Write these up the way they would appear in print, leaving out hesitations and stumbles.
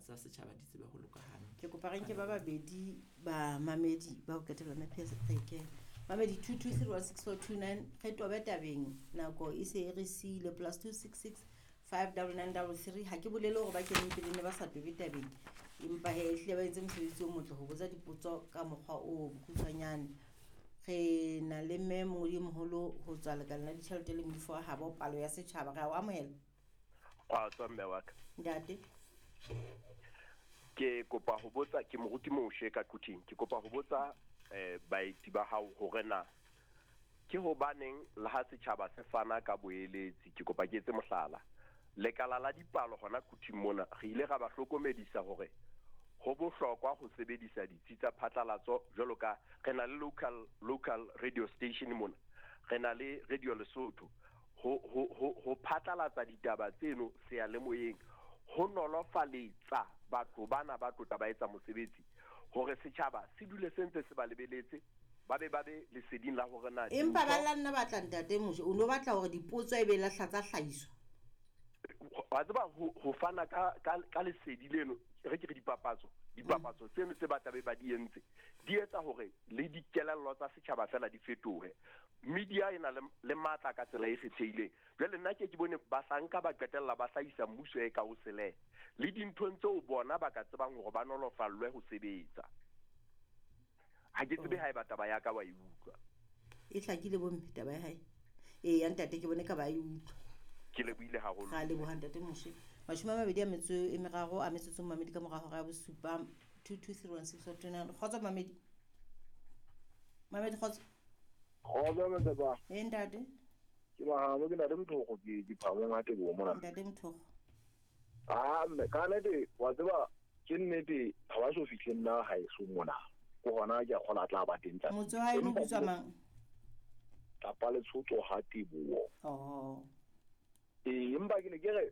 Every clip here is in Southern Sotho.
tsa setjhaba di tsebe ho loka hantle. Ke kopa re nke ba babedi bamamedi ba ho qetela mme PS re kene. Mamedi 22316429 re tobe tabeng nako e se e re siile plus 266 59933 ha ke bolele hore ba keneng pele ne ba sa tobe tabeng empa he ehlile ba entse mosebetsi o motle ho botsa dipotso ka mokgwa o bokgutshwanyane. Re na le mme mongodi e moholo ho tswa lekaleng la ditjhelete le moifo wa habo palo ya setjhaba. Re a o amohela. Kgotso mme wa ka. Ntate. Ke kopa ho botsa ke moruti Moshe ka Quthing. Ke kopa ho botsa eh baeti ba hao hore na ke hobaneng le ha setjhaba se fana ka boeletsi ke kopa ke etse mohlala. Lekala la dipalo hona Quthing mona re ile ra ba hlokomedisa hore ho bohlokwa ho sebedisa ditsi tsa phatlalatso jwalo ka re na le local local radio station mona re na le Radio Lesotho ho ho ho ho phatlalatsa ditaba tseno seyalemoyeng ho nolofaletsa batho bana ba tlotla ba etsa mosebetsi hore setjhaba se dule se ntse se ba lebeletse ba be ba be leseding la hore na Empa ba la nna batla ntate Moshe o no batla hore dipotso e be lahla tsa hlahiswa. Wa tseba ho ho fana ka ka ka lesedi leno re ke re dipapatso dipapatso tseno tse ba tlabe ba di entse di etsa hore le dikelello tsa setjhaba fela di fetohe. Media e na le le matla ka tsela e kgethehileng. Jwale nna ke ke bone bahlanka ba qetella ba hlahisa mmuso e ka o sele le dinthong tseo bona ba ka tsebang hore ba nolofallwe ho sebetsa. Ha ke tsebe haeba taba ya ka wa e utlwa. E hlakile bomme taba ya hae. Ee ya ntate ke bone ka ba e utlwa. Ke lebohile haholo. Ra leboha ntate Moshe. 23 a metsotso mamedi ka mora hora ya bosupa 22316429. Kgotso mamedi. Mamedi kgotso. Kgotso Motsepa. Ee ntate. Ke mahamo ke ntate Mthoko ke ke phamong a teboho mona. Ntate Mthoko. Ah mme ka nnete wa tseba ke nnete ha ba so fihle nna haeso mona. Ke hona ke a kgola a tla ba teng tsatsi. Motse wa haeno o bitswa mang? Tlapa Letshotso ha Teboho. Oh. Ee, empa ke ne ke re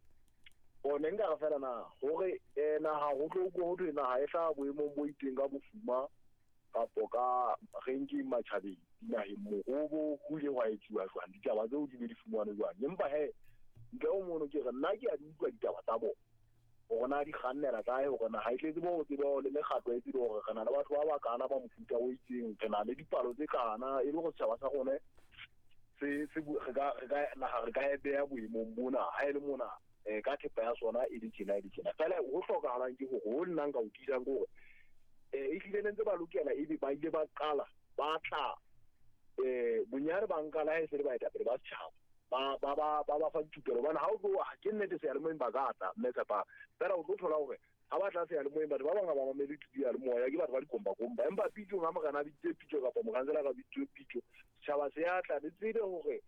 o ne nka re fela na hore eh, naha ho tlo utlwa ho thwe naha e hlaha boemong bo itseng ka bofuma kapo ka ranking matjhabeng dinaheng mohobo ho ile hwa etsuwa jwang ditaba tseo di be di fumanwe jwang empa he ntle ho mono ke re nna ke a di utlwa ditaba tsa bona hore na di kgannela kae hore na ha e tletse bo tsebo le mekgatlo e tsebe hore re na le batho ba bakana ba mofuta o itseng re na le dipalo tse kana e le gore setjhaba sa rone se se re ka re ka naha re ka e beha boemong bona ha e le mona eh, ka thepa ya sona e le tjena e le tjena fela ho hlokahalang ke hore ho nna nka o tiisang ke hore eh, ehlile ne ntse ba lokela ebe ba ile ba qala ba tla eh bonyane ba nka la ha e se le baetapele ba setjhaba ba ba ba ba ba fa dithupelo hobane ha o tlo ke nnete seyalemoyeng ba ka tla mme tshepa fela o tlo thola hore ha ba tla seyalemoyeng batho ba bang ha ba mamele diyalemoya ke batho ba dikombakomba empa pitsong ha morena a bitsitse pitso kapa mokansela ka bitsitse pitso setjhaba se ya tla le tsebe hore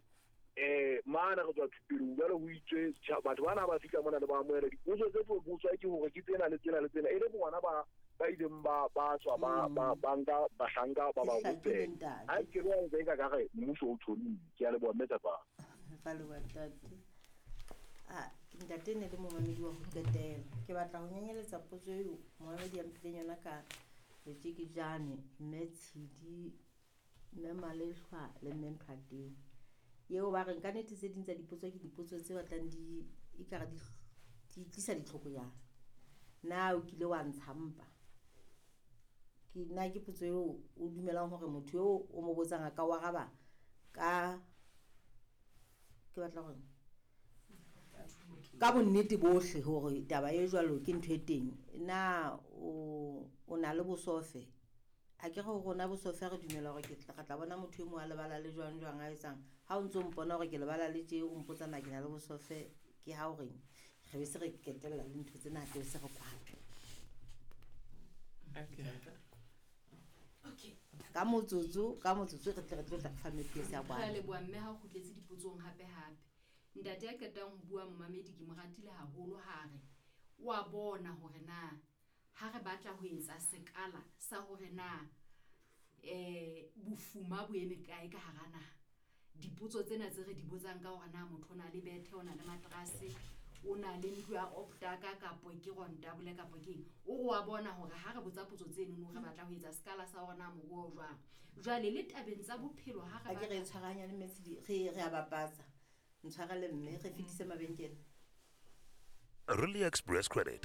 eh mana re tswa thupelong jwale ho itswe batho bana ba fihla mona le ba amohela dipotso tse tlo botswa ke hore ke tsena le tsena le tsena e le bona ba ba ileng ba ba tswa ba ba ba nka bahlanka ba ba rupela ha ke re wa ka ka re mmuso o tshonile ke a leboha mme tsapa Ra leboha ntate. Ah, ntate ne le momamedi wa ho qetela. Ke batla ho nyenyeletsa potso eo momamedi a mphileng yona ka letjekejane mme Tshidi Mme Malehlwa le Mme Nthateng. Eo ba reng ka nnete tse ding tsa dipotso ke dipotso tse batlang di ekare di di tlisa ditlhoko yana. Na o kile wa ntsha mpa? Ke na ke potso eo o dumelang hore motho eo o mo botsang a ka o araba ka ke batla hore ka bonnete bohle hore taba e jwalo ke ntho e teng. Na o o na le bosofe? A ke re ho rona bosofe re dumela hore ke re tla bona motho e mong a lebala le jwang jwang a etsang. Ha o ntso mpona hore ke lebala le tje o mpotsa na ke na le bosofe ke ha o reng re be se re ketella le ntho tsena ke be se re kwala. Okay. Ka motsotso ka motsotso re tle re tlo tla re fa Mme ya Re a kwala. leboha mme ha o kgutletse dipotsong hape hape. Ntate ya qetang ho bua momamedi ke mo ratile haholo ha re o a bona hore na ha re batla ho etsa sekala sa hore na um bofuma bo eme kae ka hara naha. Dipotso tsena tse re di botsang ka hore na motho o na le bethe, o na le matrase, o na le ntlo ya optaka kapo ke rondable kapo ke eng. O re wa bona hore ha re botsa potso tsenono re batla ho etsa sekala sa hore na moruo o jwang. Jwale le tabeng tsa bophelo ha re A ke re batla tshwarahanyane mme Tshidi re re a bapatsa. Ntshwarele mme re fetise mabenkele. Really Express Credit.